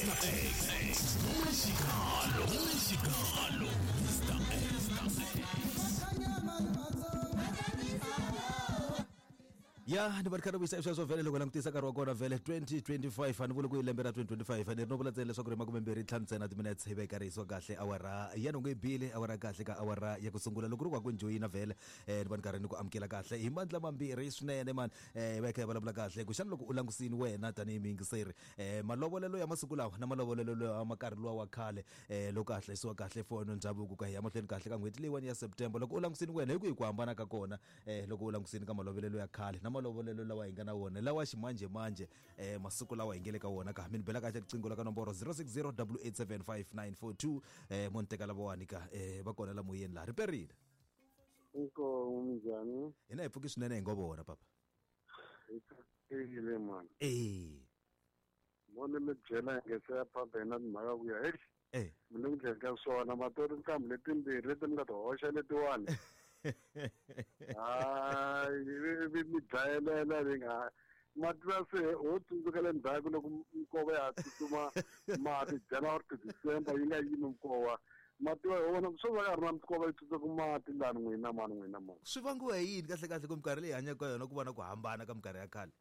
Mr. X. Mexicano, Mexicano, Mr. X. Ya ni va ri kha ri vuyisa sweswo vhele loko langutisa nkarhi wa kona vhele 2025 a ni vuli ku i lembe ra 2025 ni ri no vula ntsena leswaku ri makumembirhi ntlhanu ntsena timinetse hi va yi karhi yisiwa kahle awara ya nhungu yi bile awara kahle ka awara ya ku sungula loko ri wa ku njoyina vhele ni va ni karhi ni ku amukela kahle hi mandla mambirhi swinene mani hi va hi kha hi vulavula kahle ku xana loko u langusini wena tanihi muyingiseri malovolelo ya masiku lawa na malovolelo lawa ma nkarhi luwa wa khale loko a hlayisiwa kahle for ndhavuko ka hi ya mahlweni kahle ka n'hweti leyiwani ya September loko u langusini wena hi kwihi ku hambana ka kona loko u langusini ka malovolelo ya khale na malovolelo lawa hi nga na wona lawa ximanjhemanjhe masiku lawa hi nge le ka wona ka mi ni bela kahle riqingho la ka nomboro 060 887 5942 mo ni teka lavawani ka va kona la moyeni laha ri perile. Inkomu minjhani? Hina hi pfuki swinene hi ngo vona papa. Hi tsakile mani. Eh. Mo ni mi byela hi nge se ya papa hina timhaka ku ya heyi. Eh. Mi le ku dleni ka swona matori ntlhambu letimbirhi leti mi nga ti hoxa letiwani. Hayi vi mi dlayelela ni nga mativa se ho tsundzuka le ndzhaku loko minkova ya ha tsutsuma mati January to December yi nga yimi minkova mativa hi wona swo va ka ri na minkova yi tsutsaka mati lani n'wina mani n'wina mani. Swi vangiwa hi yini kahle kahle ku minkarhi leyi hi hanyaka ka yona ku va na ku hambana ka minkarhi ya khale?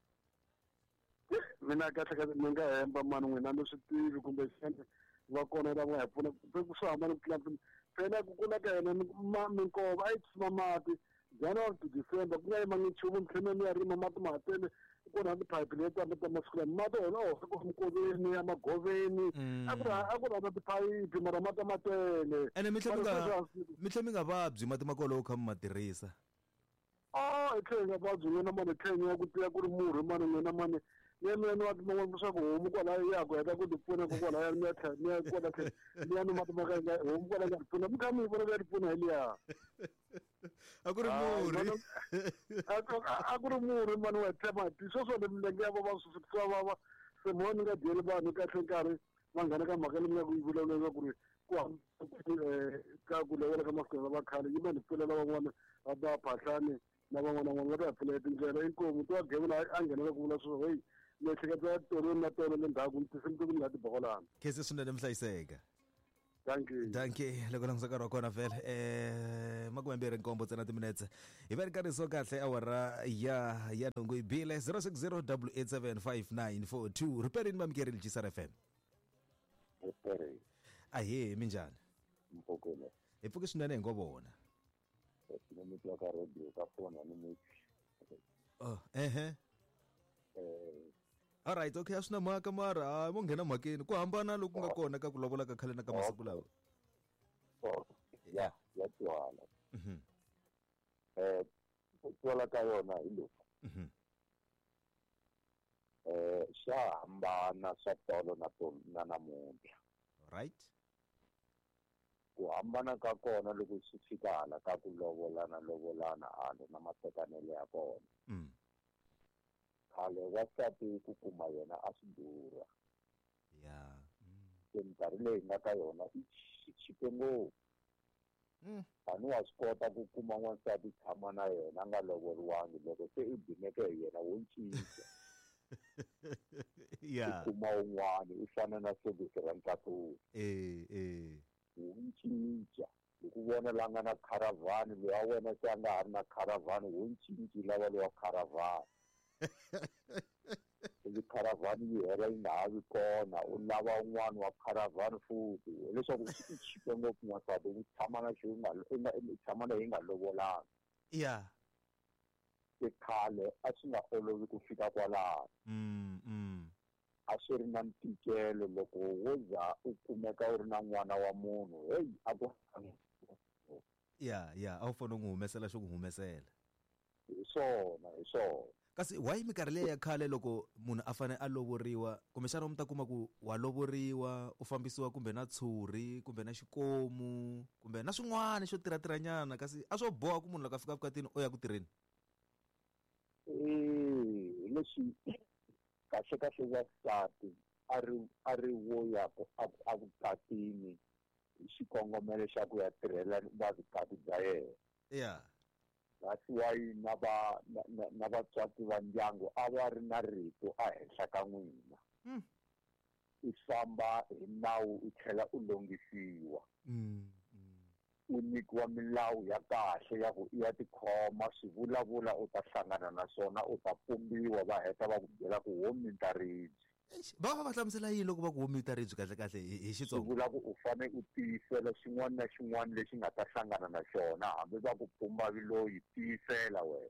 Mina kahle kahle ni nga hemba mani n'wina ni swi tivi kumbe xana va kona lava nga hi pfuna ku swi hambana ku tlula mpimo phela ku kula ka hina minkova a yi tshuma mati January to December ku nga yimangi nchumu mi tlhela mi ya rima mati ma ha tele ku na tiphayiphi leti ta ta masiku lama mati wona a hoxa ku mikoveni ya magoveni a ku ri a ku ri na tiphayiphi mara mati a ma tele ene mi tlhe mi nga mi tlhe mi nga vabyi mati ma kona loko kha mi ma tirhisa. A hi tlhela hi nga vabyi n'wina mani hi tlhela hi ku tiya ku ri murhi mani n'wina mani ni ya mina ni wa man'wana leswaku homu kwalaya ya ha ku heta ku ti pfuna kokwalaya mi ya tlhela mi ya kwala tlhelo mi ya nwa mati ma ka yi nga homu kwala yi nga ti pfuna mi kha mi yi vona ku ya ti pfuna hi liya. A ku ri murhi. A ku ri murhi mani wa hi mati sweswo ni milenge ya vava swi vava se mo ni nga dyeli vanhu kahle nkarhi va nghena ka mhaka leyi mi nga ku yi vulavula ku ri ku ka ku lovola ka masiku lama khale yi va ni pfulela van'wana va ba phahlani na van'wana van'wana va ta hi pfulela tindlela inkomu to gevula a nghenela ku vula sweswo heyi miehleketa ya tolo na tolo le ndzhaku tinsimu to ku ni nga ti bokolana. Khensi swinene mihlayiseka. Dankie. Dankie loko langutisa nkarhi wa kona vhele makumembirhi nkombo ntsena timinetse hi va ri karhi so kahle awara ya ya nhungu yi bile 060 8875942 riperini mamikerile GSR FM. Ripere. Ahee minjhani? Mpfukile. Hi pfuke swinene hi ngo vona. Ni mi twa ka radio ka foni a ni mi twi. Oh, ehe. Eh. Alright, okay, a swi na mhaka mara hayi mo nghena mhakeni ku hambana loku nga kona ka ku lovola ka khale na ka masiku lawa. Oh, ya, ya twala. Ku twala ka yona hi loku. Swa hambana swa tolo na tolo na namuntlha. Right. Ku hambana ka kona loko swi fika hala ka ku lovolana lovolana hala na matekanelo ya kona. Khale wansati ku kuma yena a swi durha. Ya. Se minkarhi leyi hi nga ka yona i chipe ngopfu. Tani wa swi kota ku kuma n'wansati tshama na yena a nga lovoriwangi loko se i gimeke hi yena wo cinca. Ya. U kuma un'wana u fana na sokisi ra ntlakulu. Eh eh. Wu cinca. Hi ku vona la nga na kharavhani loyi a wena se a nga ha ri na kharavhani wo cinci lava lowa kharavhani. Ivi kharavhani yi hela yi nga ha vi kona u lava un'wana wa kharavhani futhi hileswaku swi chipe ngopfu n'wansati u tshama na xo nga u nga u tshama na yi nga lovolanga. Ya. Se khale a swi nga olovi ku fika kwalano. A swi ri na ntikelo loko wo za u kumeka u ri na n'wana wa munhu heyi a ku Ya ya a wu fanele u n'wi humesela xo ku humesela. Hi swona hi swona. Kasi why minkarhi liya ya khale loko munhu a fanele a lovoriwa kumbexana mi ta kuma ku wa lovoriwa u fambisiwa kumbe na tshuri kumbe na xikomu kumbe na swin'wana xo tirhatirhanyana kasi a swo boha ku munhu loko a fika vukatini o ya ku tirheni. Eh leswi kahle kahle wansati a ri a ri wo ya ku a vukatini hi xikongomelo xa ku ya tirhela va vukati bya yena. Ya. That's why na va na, na, na vatswatsi va ndyangu a va ri na rito ehenhla ka n'wina. U famba hi nawu u tlhela u longisiwa. U nyikiwa milawu ya kahle ya ku i ya tikhoma, swivulavula u ta hlangana na swona, u ta pumbiwa, va heta va ku byela ku wo minta ribye. Va va va hlamusela yini loko va ku wo minta ribye kahle kahle hi Xitsonga? Swi vula ku u fane u tiyisela xin'wana na xin'wana lexi nga ta hlangana na xona, hambi va ku pumba viloyi, tiyisela wena.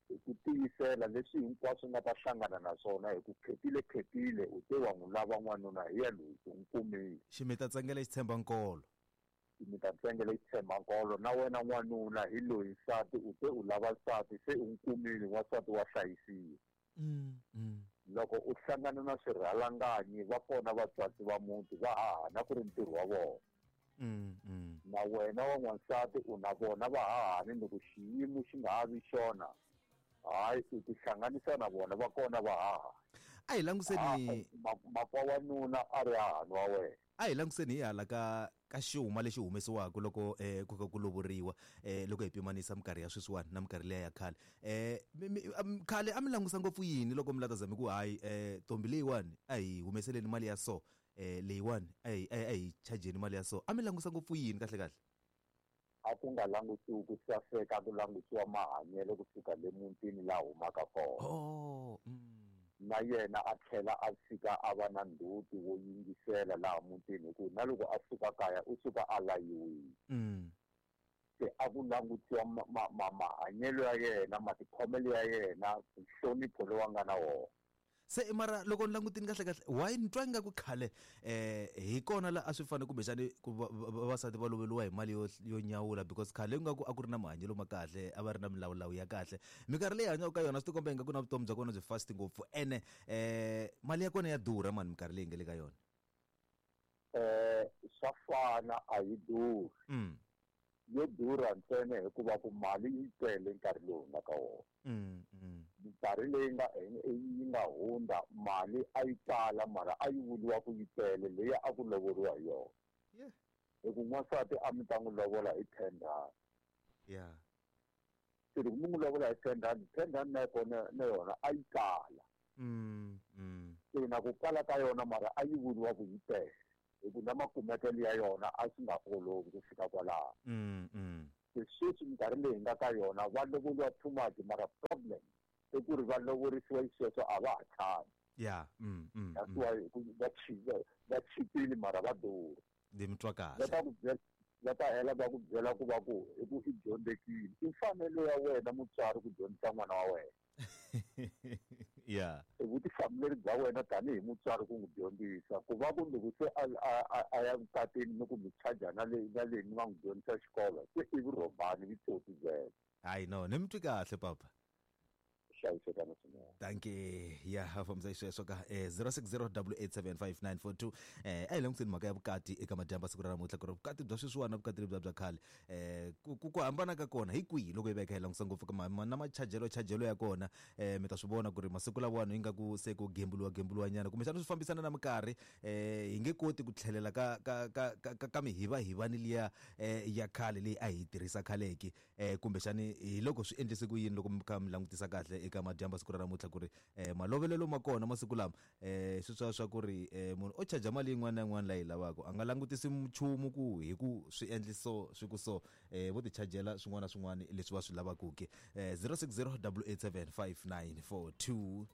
Hi ku tiyisela leswi hinkwaswo nga ta hlangana na swona, hi ku khetile khetile u te wa n'wi lava n'wanuna, hi ya loyi u n'wi kumile. Ximita tsengele xi tshemba nkolo. Ximita tsengele xi tshemba nkolo. Na wena n'wanuna hi loyi nsati, u te u lava nsati, se u n'wi kumile, n'wansati wa hlayisiwa. Loko u hlangana na swirhalanganyi, va kona vatswatsi va muti, va hahana ku ri ntirho wa vona. Na wena wa n'wansati u na vona va hahani, loko xiyimo xi nga ha vi xona, hayi u tihlanganisa na vona, va kona va haha. A hi languseni makwa wa nuna a ri hahani wa wena. A hi languseni hi hala ka xuma lexi humesiwaka loko ku kha ku lovoriwa, loko hi pimanisa minkarhi ya sweswiwani na minkarhi liya ya khale. Khale a mi langusa ngopfu yini loko mi la ta zama ku hayi ntombi leyiwani a hi humeseleni mali ya so, leyiwani a hi chajeni mali ya so, a mi langusa ngopfu yini kahle kahle? A ku nga langutiwi ku saseka, ku langutiwa mahanyelo kusuka le mutini laha humaka kona. Na yena a tlhela a fika a va na ndzhuti wo yingisela laha mutini, hikuva na loko a suka kaya u suka a layiwile. Se a ku langutiwa mahanyelo ya yena, matikhomelo ya yena, nhlonipho lowu a nga na wona. Se mara loko ni langutini kahle kahle, why ni twa ingaku khale hi kona la a swi fanele kumbexani ku vavasati va loveriwa hi mali yo nyawula, because khale ingaku a ku ri na mahanyelo ma kahle, a va ri na milawulawu ya kahle. Minkarhi leyi hanyaka ka yona swi tikomba ingaku na vutomi bya kona byi fast ngopfu, ene mali ya kona ya durha mani minkarhi leyi nga le ka yona. Swa fana, a yi durhi. Yo durha ntsena hikuva ku mali yi tele nkarhi lowu nga ka wona. Minkarhi leyi nga hundza mali a yi tala, mara a yi vuriwa ku yi tele leyi a ku lovoriwa hi yona. Hi ku n'wansati a mi ta n'wi lovola hi 10 rand. Se loko mi n'wi lovola hi 10 rand, 10 rand na kona na yona a yi tala. Se na ku kala ka yona mara a yi vuriwa ku yi tele, hi ku na makumekelo ya yona a swi nga olovi ku fika kwalaho. Se sweswi minkarhi leyi nga ka yona va lovoriwa too much, mara problem i ku ri va lovorisiwa xisweswo a va ha tshami. That's why va chipile mara va durha. Ndzi mi twa kahle. Va ta hela va ku byela ku va ku hi ku i dyondzekile. I mfanelo ya wena mutswari ku dyondzisa n'wana wa wena. I vutihlamuleri bya wena tanihi mutswari ku n'wi dyondzisa, ku va ku loko se a ya vukatini ni ku mi charge na leyi na leyi mi nga n'wi dyondzisa xikolo, se i vurhobani vitsotsi byebyo. Hayi no, ni mi twi kahle papa. Hlayisekana swinene. Dankie. Ya ha fambisa xisweswo ka 0608875942. A hi languseni mhaka ya vukati eka madyambu siku ra namuntlha, ku ri vukati bya sweswiwani na vukati lebya bya khale, ku hambana ka kona hi kwihi loko hi veka hi langusa ngopfu ka na machajelo chajelo ya kona. Mi ta swi vona ku ri masiku lawani ingaku se ku gembuluwa gembuluwa nyana, kumbexana swi fambisana na minkarhi. Hi nge koti ku tlhelela ka ka ka ka ka mihivahivani liya ya khale leyi a hi tirhisa khaleki, kumbexani hi loko swi endlise ku yini loko mi kha mi langutisa kahle eka madyambu siku ra namuntlha, ku ri malovelelo ma kona masiku lama, sweswiya swa ku ri munhu o charge mali yin'wana na yin'wana leyi lavaka, a nga langutisi nchumu ku hi ku swi endli so swi ku so, vo ti chajela swin'wana na swin'wana leswi va swi lavaka ke. 0608875942.